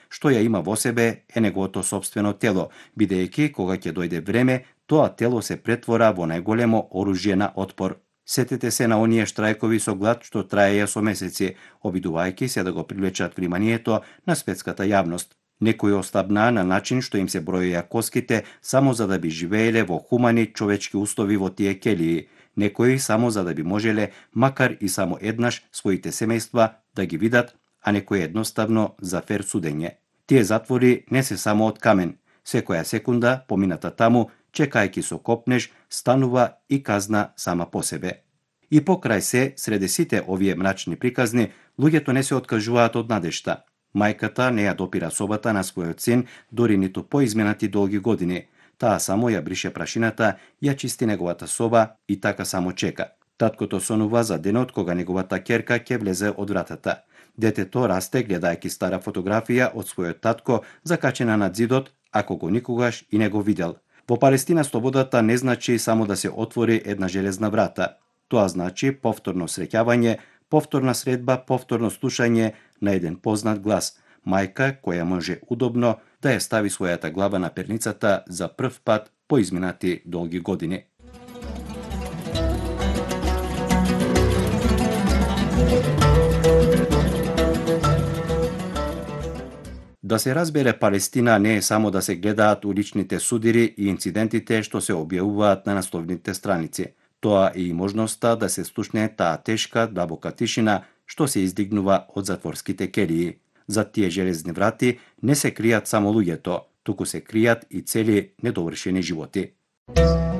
што ја има во себе е неговото сопствено тело, бидејќи кога ќе дојде време, тоа тело се претвора во најголемо оружје на отпор. Сетете се на оние штрајкови со глад што траеја со месеци, обидувајќи се да го привлечат вниманието на светската јавност. Некои ослабнаа на начин што им се бројеја коските само за да би живееле во хумани човечки услови во тие келии. Некои само за да би можеле, макар и само еднаш, своите семејства да ги видат, а некои едноставно за фер судење. Тие затвори не се само од камен. Секоја секунда помината таму, чекајќи со копнеж, станува и казна сама по себе. И покрај се, среде сите овие мрачни приказни, луѓето не се откажуваат од надежта. Мајката не ја допира собата на својот син, дори ниту по изминати долги години. Таа само ја брише прашината, ја чисти неговата соба и така само чека. Таткото сонува за денот кога неговата ќерка ќе влезе од вратата. Детето расте гледајќи стара фотографија од својот татко закачена над зидот, ако го никогаш и не го видел. Во Палестина слободата не значи само да се отвори една железна врата. Тоа значи повторно среќавање, повторна средба, повторно слушање на еден познат глас, мајка која може удобно да ја стави својата глава на перницата за прв пат по изминати долги години. Да се разбере, Палестина не е само да се гледаат уличните судири и инцидентите што се објавуваат на насловните страници. Тоа е и можноста да се слушне таа тешка, длабока тишина што се издигнува од затворските келии. За тие железни врати не се кријат само луѓето, туку се кријат и цели недовршени животи.